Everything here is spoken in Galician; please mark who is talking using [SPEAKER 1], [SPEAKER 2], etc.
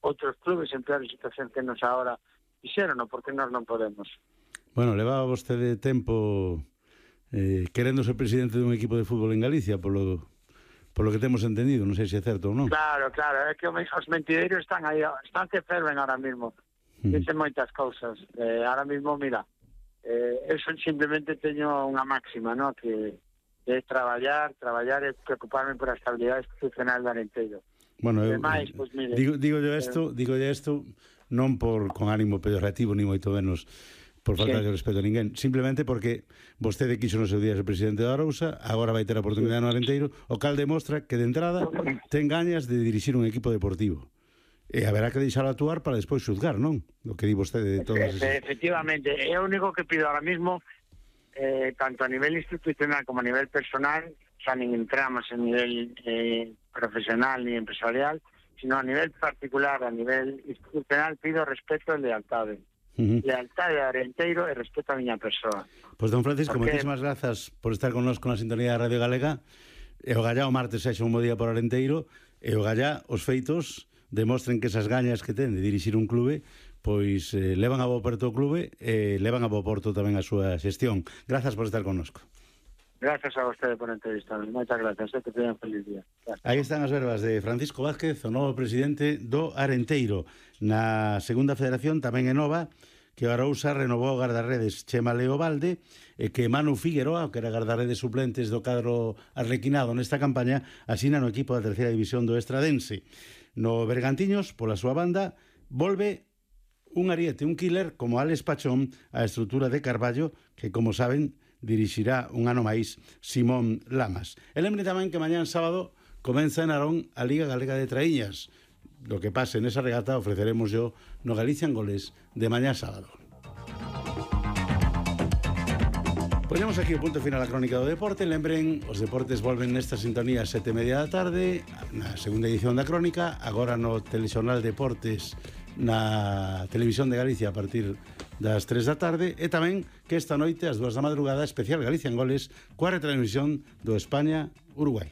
[SPEAKER 1] outros clubes en peor situación que nos agora fixeron, porque nós non podemos.
[SPEAKER 2] Bueno, levaba vostede tempo querendo ser presidente dun equipo de fútbol en Galicia, polo que temos entendido, non sei se é certo ou non.
[SPEAKER 1] Claro, é que os mentideiros están aí, están que ferven ahora mismo. Dicen moitas cousas. Ahora mismo, mira, eu simplemente teño unha máxima, ¿no? Que é traballar e preocuparme por a estabilidade institucional do Arenteiro.
[SPEAKER 2] Bueno,
[SPEAKER 1] Ademais, pues, mire,
[SPEAKER 2] digo isto non con ánimo pejorativo ni moito menos por falta de respeto a ninguén, simplemente porque vostede quiso no seu día ser presidente da Arousa, agora vai ter a oportunidade no Arenteiro, o cal demostra que de entrada ten gañas de dirixir un equipo deportivo. E haberá que deixar actuar para despois xuzgar, non? O que di vostede de todas esas...
[SPEAKER 1] Efectivamente, é o único que pido ahora mismo, tanto a nivel institucional como a nivel personal, xa nin entramos en nivel profesional ni empresarial, sino a nivel particular, a nivel institucional, pido respeto e lealtade. Lealtade a Arenteiro e respeto a miña persoa.
[SPEAKER 2] Pois, don Francisco, moitísimas grazas por estar connosco na sintonía da Radio Galega. E o gallá o martes sexa un bo día por Arenteiro, e o gallá os feitos demostren que esas gañas que ten de dirixir un clube pois levan a bo porto o clube e levan a bo porto tamén a súa xestión. Grazas por estar connosco.
[SPEAKER 1] Gracias a vostede por entrevistarme. Moitas gracias, que teñan feliz día. Gracias.
[SPEAKER 2] Aí están as verbas de Francisco Vázquez, o novo presidente do Arenteiro. Na segunda federación tamén é nova que a Arousa renovou o guardarredes Chema Leobalde e que Manu Figueroa, que era guardarredes suplentes do cadro arlequinado nesta campaña, asina no equipo da terceira división do Estradense. No Bergantiños, pola súa banda, volve un ariete, un killer como Alex Pachón a estrutura de Carballo, que, como saben, dirixirá un ano máis Simón Lamas. E lembre tamén que mañán sábado comeza en Narón a Liga Galega de Traíñas. Lo que pase nesa regata ofreceremos yo no Galicia en Goles de mañán sábado. Poñemos aquí o punto final a crónica do deporte. Lembren, os deportes volven nesta sintonía a 7:30 da tarde, na segunda edición da crónica, agora no Telexornal Deportes na Televisión de Galicia a partir das 3 da tarde, e tamén que esta noite ás 2 da madrugada especial Galicia en Goles coa retransmisión do España-Uruguai.